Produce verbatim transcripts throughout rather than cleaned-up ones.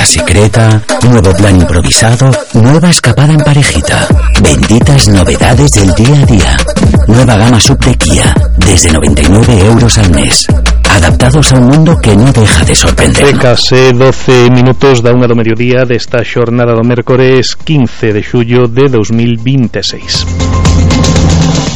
cita secreta, nuevo plan improvisado, nueva escapada en parejita. Benditas novedades del día a día. Nueva gama sub de Kia, desde noventa y nueve euros al mes. Adaptados a un mundo que no deja de sorprender. Case doce minutos da unha do mediodía desta xornada do mércores quince de xullo de dos mil vinte e seis.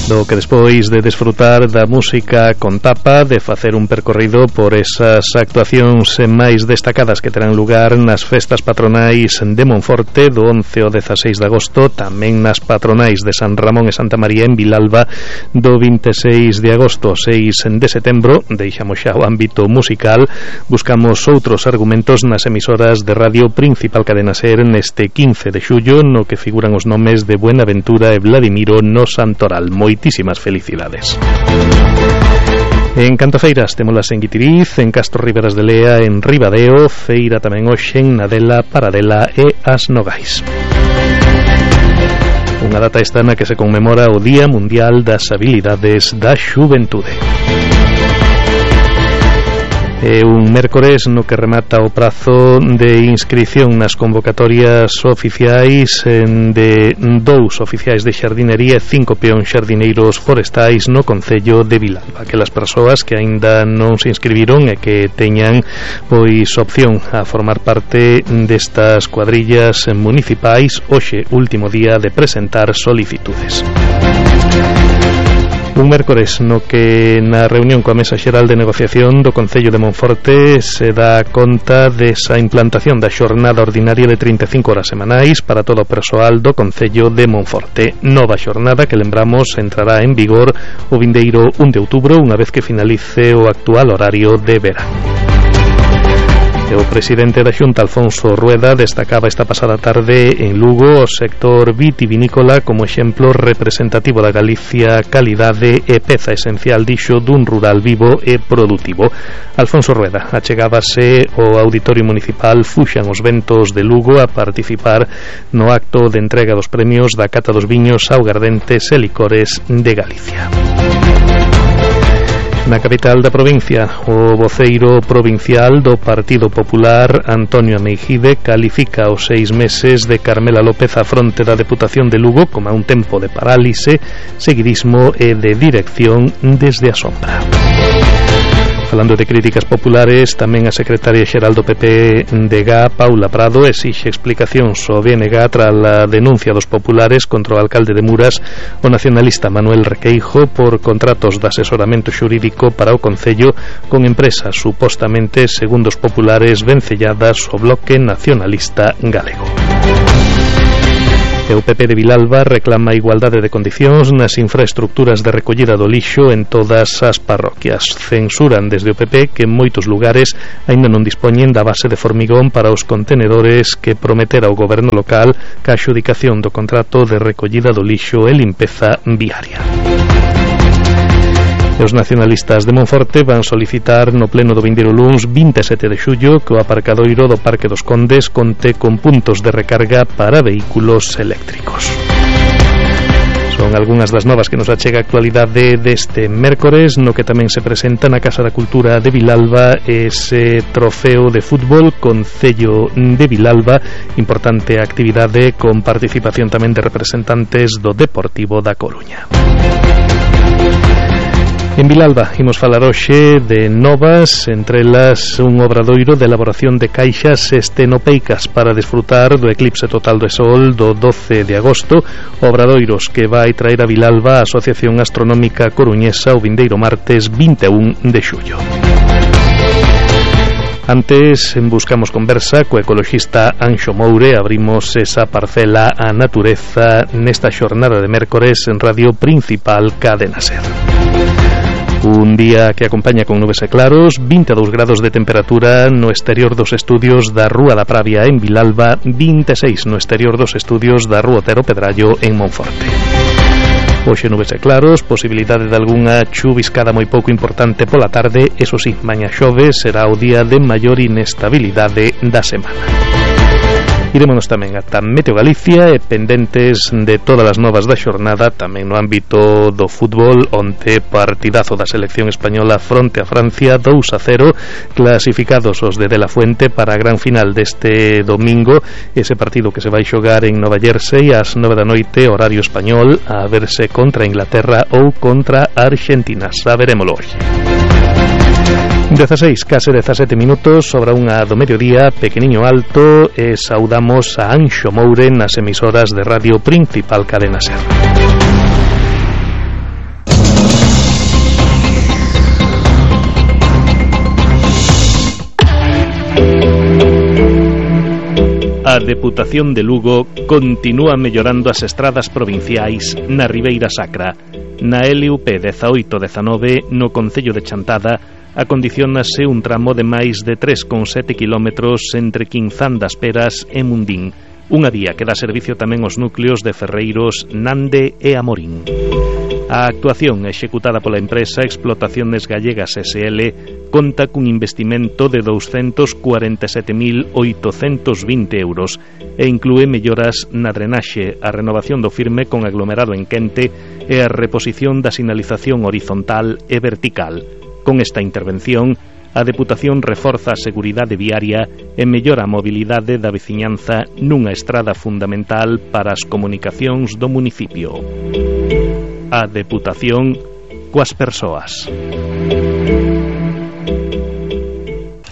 Do que despois de desfrutar da música con tapa, de facer un percorrido por esas actuacións máis destacadas que terán lugar nas festas patronais de Monforte do once ao dezaseis de agosto, tamén nas patronais de San Ramón e Santa María en Vilalba do vinte e seis de agosto ao seis de setembro, deixamos xa o ámbito musical, buscamos outros argumentos nas emisoras de radio Principal Cadena Ser neste quince de xullo, no que figuran os nomes de Buenaventura e Vladimiro no Santoral. Moitísimas felicidades. En Cantofeiras temolas en Guitiriz, en Castro Riberas de Lea, en Ribadeo, feira tamén hoxe en Nadela, Paradela e As Nogais. Unha data esta na que se conmemora o Día Mundial das Habilidades da Xuventude. É un mércores no que remata o prazo de inscrición nas convocatorias oficiais de dous oficiais de xardinería e cinco peóns xardineiros forestais no concello de Vilalba. Aquelas persoas que aínda non se inscribiron e que teñan pois opción a formar parte destas cuadrillas municipais, hoxe último día de presentar solicitudes. Un mércores no que na reunión coa Mesa Xeral de Negociación do Concello de Monforte se dá conta desa implantación da xornada ordinaria de trinta e cinco horas semanais para todo o persoal do Concello de Monforte. Nova xornada que, lembramos, entrará en vigor o vindeiro un de outubro, unha vez que finalice o actual horario de verán. O presidente da Xunta, Alfonso Rueda, destacaba esta pasada tarde en Lugo o sector vitivinícola como exemplo representativo da Galicia, calidade e peza esencial, dixo, dun rural vivo e produtivo. Alfonso Rueda achegábase ao Auditorio Municipal Fuxan os Ventos de Lugo a participar no acto de entrega dos premios da Cata dos Viños, Augardentes e Licores de Galicia. Na capital da provincia, o voceiro provincial do Partido Popular, Antonio Ameijide, califica os seis meses de Carmela López á fronte da Deputación de Lugo como un tempo de parálise, seguidismo e de dirección desde a sombra. Falando de críticas populares, tamén a secretaria xeral do P P de G A, Paula Prado, exixe explicacións ao B N G tras a denuncia dos populares contra o alcalde de Muras, o nacionalista Manuel Requeijo, por contratos de asesoramento xurídico para o Concello con empresas supostamente, segundo os populares, vencelladas ao bloque nacionalista galego. E o P P de Vilalba reclama a igualdade de condicións nas infraestructuras de recollida do lixo en todas as parroquias. Censuran desde o P P que en moitos lugares aínda non dispoñen da base de formigón para os contenedores que prometera o goberno local ca adxudicación do contrato de recollida do lixo e limpeza viaria. E os nacionalistas de Monforte van solicitar no pleno do vindeiro luns vinte e sete de xullo que o aparcadoiro do Parque dos Condes conte con puntos de recarga para vehículos eléctricos. Son algunhas das novas que nos achega a actualidade deste mércores, no que tamén se presenta na Casa da Cultura de Vilalba ese trofeo de fútbol Concello de Vilalba, importante actividade con participación tamén de representantes do Deportivo da Coruña. En Vilalba imos falar hoxe de novas, entre elas un obradoiro de elaboración de caixas estenopeicas para desfrutar do eclipse total do Sol do doce de agosto, obradoiros que vai traer a Vilalba a Asociación Astronómica Coruñesa o vindeiro martes vinte e un de xullo. Antes buscamos conversa co ecoloxista Anxo Moure, abrimos esa parcela a natureza nesta xornada de mércores en Radio Principal Cadena Ser. Un día que acompaña con nubes e claros, vinte e dous grados de temperatura no exterior dos estudios da Rúa da Pravia en Vilalba, vinte e seis no exterior dos estudios da Rúa Otero Pedrallo en Monforte. Hoxe nubes e claros, posibilidade de algunha chuviscada moi pouco importante pola tarde, eso sí, mañá xove será o día de maior inestabilidade da semana. Irémonos tamén ata Meteo Galicia e pendentes de todas as novas da xornada tamén no ámbito do fútbol, onte partidazo da selección española fronte a Francia, dous a cero, clasificados os de De La Fuente para a gran final deste domingo, ese partido que se vai xogar en Nova Jersey ás nove da noite, horario español, a verse contra Inglaterra ou contra Argentina. Saberémolo hoxe. dezaseis, case dezasete minutos, sobra unha do mediodía, pequeniño alto, e saudamos a Anxo Moure nas emisoras de radio principal Cadena Ser. A Deputación de Lugo continúa mellorando as estradas provinciais na Ribeira Sacra. Na L U P dezaoito dezanove, no concello de Chantada, acondicionase un tramo de máis de tres coma sete quilómetros entre Quinzán das Peras e Mundín, unha vía que dá servicio tamén aos núcleos de Ferreiros, Nande e Amorín. A actuación executada pola empresa Explotaciones Gallegas S L conta cun investimento de douscentos cuarenta e sete mil oitocentos vinte euros e inclúe melloras na drenaxe, a renovación do firme con aglomerado en quente e a reposición da sinalización horizontal e vertical. Con esta intervención, a Deputación reforza a seguridade viaria e mellora a mobilidade da veciñanza nunha estrada fundamental para as comunicacións do municipio. A Deputación coas persoas.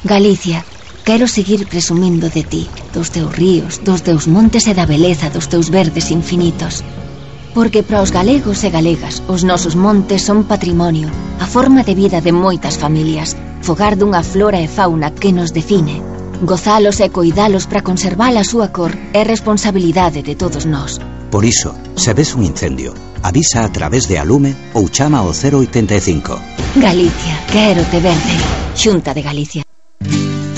Galicia, quero seguir presumindo de ti, dos teus ríos, dos teus montes e da beleza dos teus verdes infinitos. Porque para os galegos e galegas os nosos montes son patrimonio, a forma de vida de moitas familias, fogar dunha flora e fauna que nos define. Gozalos e coidalos para conservar a súa cor é responsabilidade de todos nós. Por iso, se ves un incendio, avisa a través de Alume ou chama ao cero oitenta e cinco. Galicia, quero te verde. Xunta de Galicia.